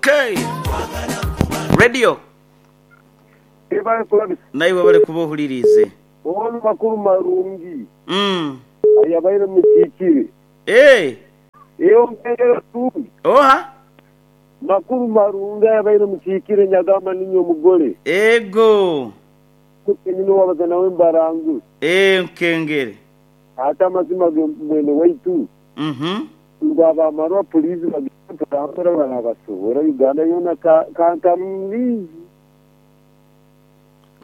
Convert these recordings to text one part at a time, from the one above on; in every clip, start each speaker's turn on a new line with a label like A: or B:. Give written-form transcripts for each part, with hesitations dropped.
A: Okay. Radio.
B: Webale kulabisa.
A: Naiwe webale kuba ohuliriize.
B: Ono makuru marungi ayabaire mukiikire.
A: Eeh.
B: Eyo mpengere tungi.
A: Oha?
B: Makuru marungi ayabaire mukiikire nyagamba ninye omugole.
A: Ego.
B: Kenyini owabaza nawe mbarangure.
A: Eeh nkengere.
B: Ate amazima ge mwene waitu ngu abamarwa pulizi bagende mpora mpora barabasobora Uganda yoona kantamu mingi.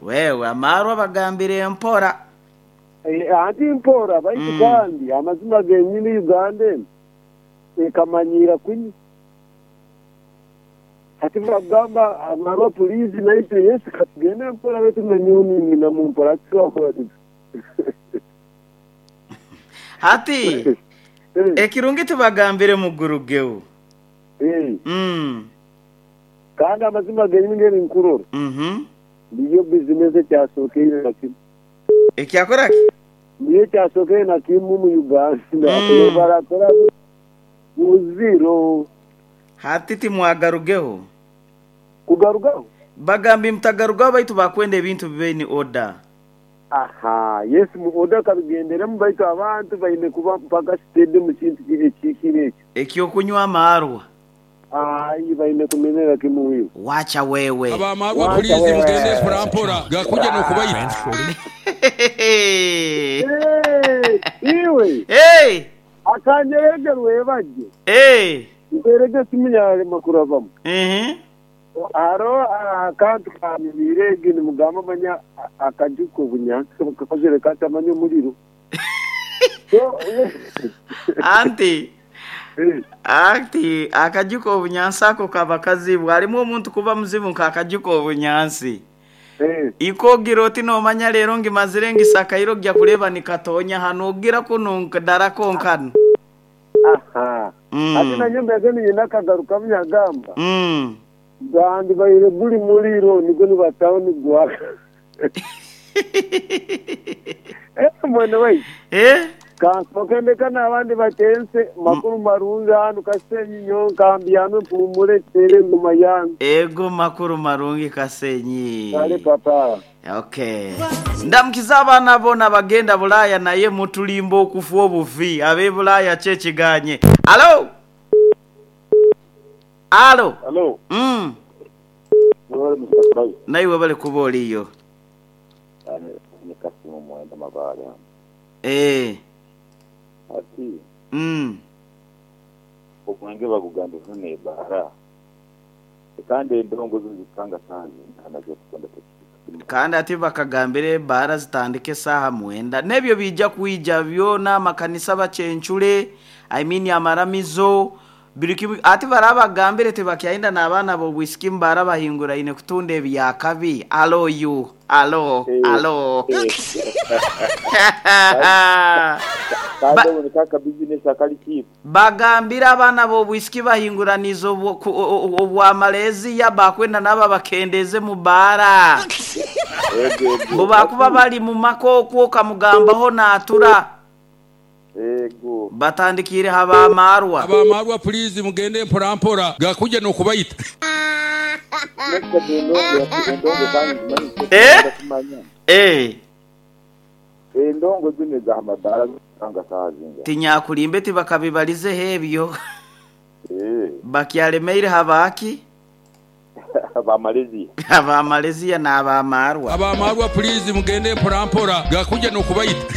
A: Wewe amarwa bagambire mpora.
B: Anti mpora baitu kandi amazima genyini Uganda enu ekamanyiira kunywa. Hati bakugamba amarwa pulizi naitwe yes katugende mpora baitu nanyowe ninyinamu mpora hati twakora tuta?
A: Hati ekirungi tibagambire mugurugeho.
B: Kandi amazima genyini ngeri nkurora niyo bizinesi ekyasokeire na kimu.
A: Ekyakora ki?
B: Niyo ekyasokeire na kimu mu Uganda. Barakora muziro.
A: Hati timwagarugeho.
B: Kugarugaho?
A: Bagambye mutagarugaho baitu bakwenda ebintu bibe in order.
B: Aha, yes mu order kabigenderemu baitu abantu baine kuba mpaka steady mu kintu ekihikire ekyo.
A: Eky'okunywa amaarwa.
B: Aye baine kumenera kimu iwe.
A: Wacha wewe.
C: Ab'amaarwa puliizi mugende mpora mpora, gakuja n'okubaita.
B: Eeh iwe! Akanyereege rwebagye. Nteerege esimu yarema kurabamu. Haroho akantu kanyumiire egi nimugamba manya akaju k'obunyansi kakozire kata manya omuriro.
A: Anti anti akaju k'obunyansi ako kaba kazibu. Harimu omuntu kuba muzibu nk'akaju k'obunyansi. Iko ogira oti noomanya reero ngimazire ngisakaire ogya kureeba nikatoonya hanu ogira kunu nkdara konkanu.
B: Aha. Hati nanye mbeeze niinyenda akagarukamu yagamba, Gwandibaire guri muriro nigwo nibataho nigwaka. Eh mwene waitu. Kansooke ndeka n'abandi batense. Makuru marungi hanu Kasenyi nyowe nkambyame mpumure nteere engoma yange.
A: Ego makuru marungi Kasenyi.
B: Kale papa.
A: Okay. Ndamukiza abaana bona abagenda Bulaaya naye mutulimba okufa obufi. Abe Bulaaya ki ekiganye? Alo! Alo!
B: Alo.
A: Mm.
B: Webale Mister Fry.
A: Naiwe webale kuba oliyo.
B: Ni Kasimu Mwenda Mabaale hano.
A: Eeh.
B: Ati
A: Mm.
B: omwenge bagugamba zino ebaara kandi endongo zo zikanga saaha zingana z'okutonda tekihika.
A: Kandi ati bakagambire ebaara zitandike esaaha mwenda. N'ebyo biija kwija byona amakanisa bacencure, I mean amaramizo, buri kimwe. Ati barabagambire tibakyayenda n'abaana b'obwisiki mbu barabahinguraine kutunda ebyakabi. Alo you, alo, alo.
B: Kandi obwo niko akabizinesi akari kiipu.
A: Bagambire abaana b'obwisiki bahinguraniize obwa Maleziya bakwenda nabo babakendeeze mu baara. Mbu baakuba bari mu maka okwo okamugambaho naatura. Batandikiire ha b'amaarwa.
C: Ab'amaarwa puliizi mugende mpora mpora, gakuja n'okubaita.
B: Endongo zinu eza mabaara zikanga saaha zinga?
A: Tinyakulimbe tibakabibalizeho ebyo. Bakyaremeire ha baaki?
B: Aba Malaysia.
A: Aba Malaysia n'ab'amaarwa.
C: Ab'amaarwa puliizi mugende mpora mpora, gakuja n'okubaita.